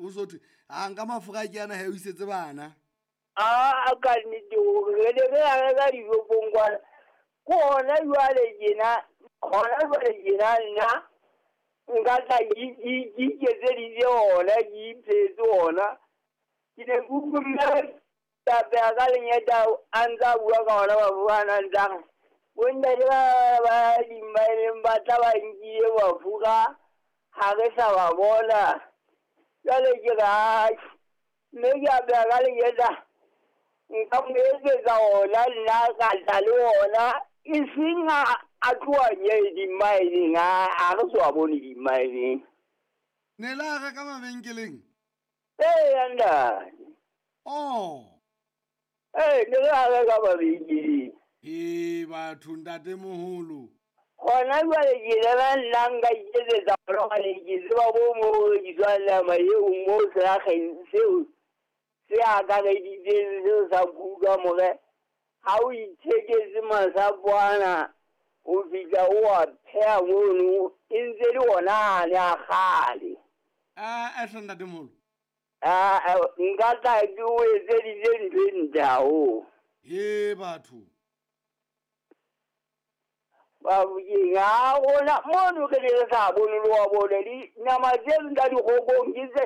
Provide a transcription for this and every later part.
Ho so thwe a nka mafura ke ana he o isetse bana. A ka nnete hore re ne re a reka dishopong kwana. Ke hona jwale tjena, hona jwale tjena nna nka tla ke iketseditse ona, ke iphehetse ona. Ke ne ke utlwe mme a pheha ka lenyeta a ntse a bua ka ona mafura ana a ntse a re, bontate ba ba dimmaeneng ba tla ba nkile mafura ha re sa ba bona. Jwale ke re atjhe, mme ke a pheha ka lenyeta nka mo etsetsa ona nna ka tla le ona e seng a tloha nye dimmaeneng a re so a bone dimmaeneng. Ne la reka mabenkeleng? Ee, ntate. Oh. Ee, ne re a reka mabenkeleng. Ee, batho ntate moholo. Hona jwale ke lena nna nka iketsetsa ona hobane ke tseba bo mo ho rekiswang nama eo mo selakgeng seo se akareditseng seo sa kuka more ha o itheketse masapo ana o fihla o a pheha mono e ntse le ona ane a kgale. A hle ntate moholo. Nka tla ke o etseditse ntho e ntle haholo. He batho. Bafokeng ha rona mono re ne re sa bone le wa bone dinama tse tsa dikgokong ke tse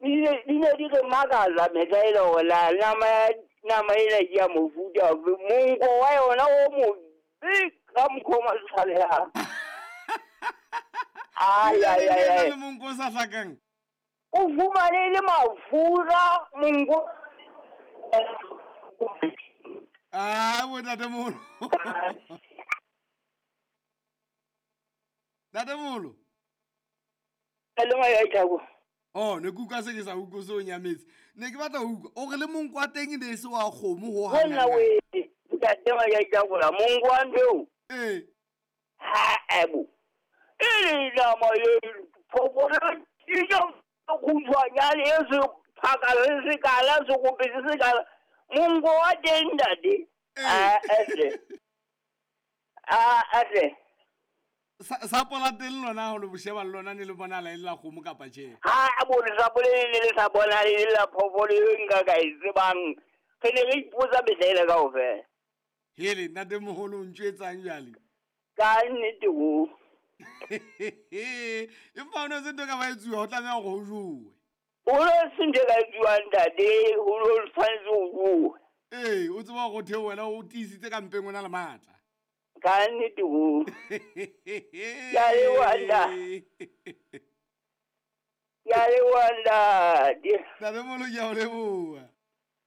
di ne di re makatsa mehla ele hore la nama ena ke ya mofuta ofe, monko wa yona o mobe ka mokgwa o matshabehang. Ai, ai, ai, ai. Le monko o sa hlakang. O fumane le mafura monko. Ah, bo ntate moholo. Ntate moholo. Le ngaya ithako. Oh, ne ke utlwa se ke sa utlwe se o nyametse. Ne ke batla ho utlwa o re le monko wa teng e ne e se wa kgomo ho hang. Hona we ntate wa ithako la monko wa ntho eo. Ee. Ha ebo. E le nama e phofolo e ja khutshwanyane e se phaka se se kala se kope se se kala. Monko wa teng ntate. A tle. A tle. Sapo la teng lona ho le bosheba le lona ne le bonala e le la kgomo kapa tjhe? Ha a bone sapo le ne le sa bonale e le la phoofolo eo nka ka e tsebang. Re ne re ipotsa mehla ele kaofela. Hele, ntate moholo o ntjwetsang jwale? Ka nnete ho. Empa ho no se ntho e ka ba etsuwa, ho tlameha hore ho jowe. Ho no se ntho e ka etsuwang ntate, ho no tshwanetse ho jowe. Ee, o tseba hore o theohe wena o tiisitse ka mpeng o na le matla. Ka nnete ho. Ke a leboha ntate. Ke a leboha ntate. Ntate moholo ke a o leboha.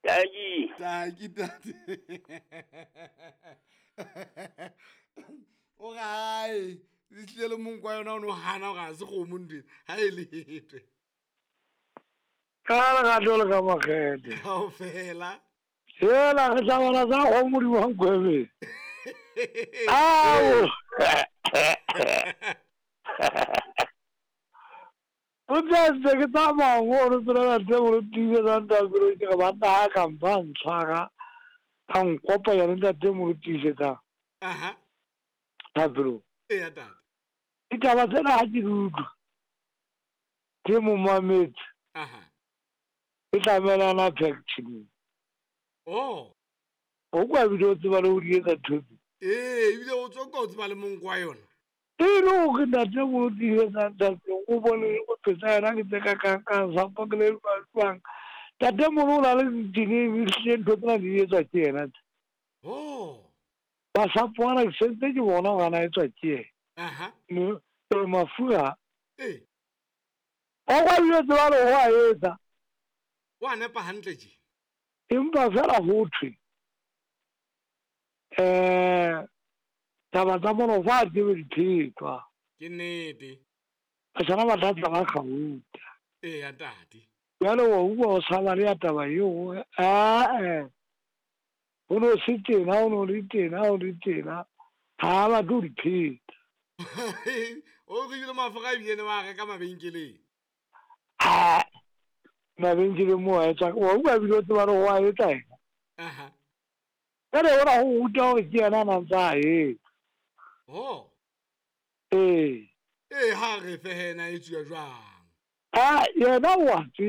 Taki. Taki tate. O re hae, e hlile le monko wa yona o no hana hore ha se kgomo ntho ena, ha e letwe. Ka lerato le ka makgethe. Kaofela. Hela re tla bala tsa kgomo di Nkwebe. Ao. O tla ntse ke tsamaya mo re tsela tse mo tiisetsa ntate ke re banna ha ka mpa ntshwara a nkopanya le ntate mo tiisetsa. Aha. Thapelo. Eya tate. Ditaba tsena ha ke di utlwa ke mo mametse. Aha. E tlamelana packaging. Oh. O kwa ebile o tseba le ho di etsa ntho tse. Ee, ebile o tswa o tseba le monko wa yona. E le hore ntate mo tiisetsa ntate o bone o phetsa yena ke tse ka kang sapo ke le jwang. Ntate moholo o na le ditene ehlile ntho tsena di etswa ke yena tse. Oh. Masapo ana ke sentse ke bona hore ana etswa ke yena. Aha. Mafura. Ee. O kwa ebile o tseba le ho a etsa. Wa nepa hantle tje. Empa fela ho thwe taba tsa mono fa tsebe di phetwa. Ke nnete. Batjhana ba tla tla ba kgauta. Eya tate. Jwale wa utlwa o saba le ya taba eo ae. Ho no se tena, ho no le tena, ho le tena. Ha ba tlo di pheta. O re ebile mafura ebile ne ba reka mabenkeleng. Ah, mabenkeleng mo a etsa. Wa utlwa ebile o tseba le ho a etsa ena. Aha. Jwale hona ho ruta hore ke yena a nang tsa a etsa. Oh. Ee. Ee, ha re fe hena e tsuwa jwang? Ah, yena o a tseba.